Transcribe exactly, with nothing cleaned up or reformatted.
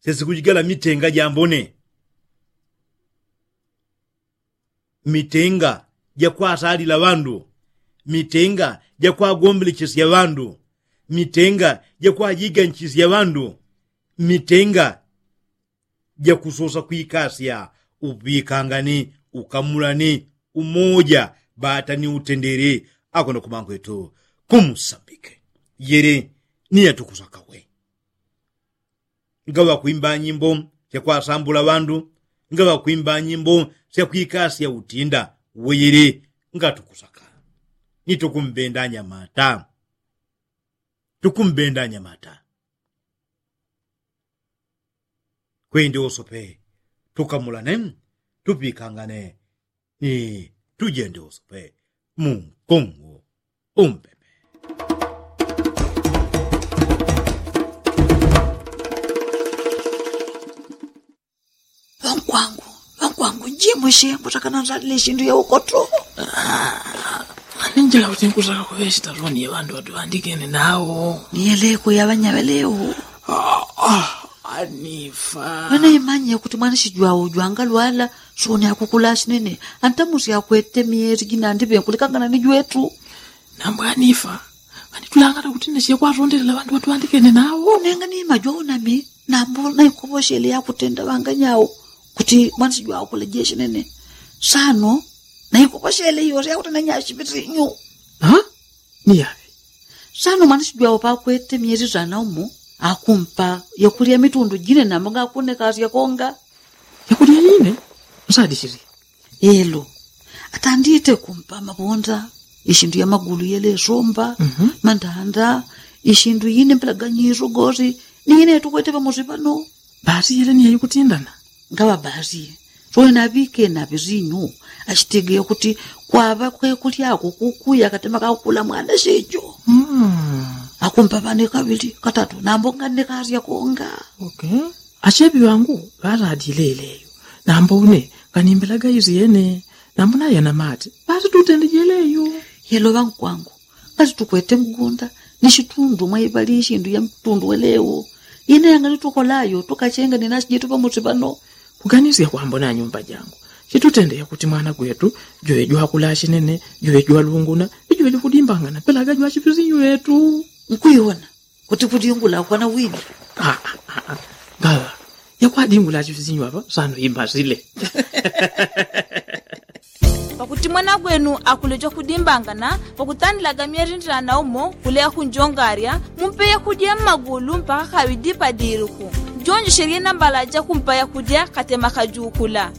Sesikujigala mitenga jambone, mitenga jakwasalila ŵandu, mitenga jakwagombelechesya ŵandu, mitenga jakwajiganchisya ŵandu, mitenga jakusosa kwikasya uŵikangani, ukamulani, umoja bata ni utendere. Akono kumangwetu kumusambike yele ni yatukusakawe. Ngaŵakwimba nyimbo syakwasambula ŵandu, ngaŵakwimba nyimbo syakwikasya utinda weyele, ngatukusaka ni tukumbenda nyamata, tukumbenda nyamata. Kwende usope tukamulane, tupikangane ni tujende usope mu nkungu umpepe. Ŵankwangu, ŵankwangu, njimwe shembo takana nzalile shindu ya ukoto. Ani njila kuti nkusaka kuŵe shitaloni ya ŵandu ŵatuŵandikene nawo. Niyeleko ya ŵanyaŵelewo. Anifa. Ŵana imanye kuti mwana shijwawo jwangalwala, soni akukula shinene. Antamusi akwete myeri jinandi ŵenkulikangana ni jwetu. Nambo anifa. Ani tulangala kuti nashekwatondelela ŵandu ŵatuŵandikene nawo. Nenga ni majwawo nami nambo naikoposhele yakutenda ŵanganyawo kuti mwana shijwawo kula jeshi nene. Sano naikoposhele iyo yakutenda nyashipitinyu. Niyaŵe. Sano mwana shijwawo pakwete myeri zana umo, akumpa yakulya mitundu jine nambo ngakunekasya konga. Yakulya jine? Nsadishili. Elo, atandite kumpa maponda, ishindu ya magulu yelesomba, mandanda, ishindu yine mpelaganyiso gosi ni yine tukwete pamosi pano. Basi yele ni yayikutindana. Ngaŵa basi. Sowe naŵike naŵe sinyu, ashitegeya kuti kwaŵa kwekulyako kukuya katema kakukula mwana shecho. Akumpa ŵane kaŵili katatu nambo nganekasya konga. Ashepi ŵangu ŵaladile yeleyo, nambo une nganimbelaga isyene. Nambo nayana mati basi tutende jeleyo. Yelo ŵankwangu, ngatitukwete mgunda ni shitundu mwaiŵali ishindu ya mtundu welewo. Ine yanganitukolayo tukachenga ni nashi jetu pamosi pano. Kuganisya kwambo na nyumba jangu, chitutende yakuti mwana gwetu juŵe jwakula shinene, juŵe jwalunguna, ni juŵe jwakudimbangana pelaga jwachipisinyu yetu. Nkwiwona kuti kudingula kwana wini. Ngaŵa yakwadingula chifisinyu apa sano imbasile. Pakuti mwana gwenu akuleja kudimbangana pakutandilaga myerindilana umo kuleya kunjongarya, mumpeya kudya mmagulu mpaka kaŵidi padiluku. Jonjeshelye nambala jakumpaya kudya katema kajukula.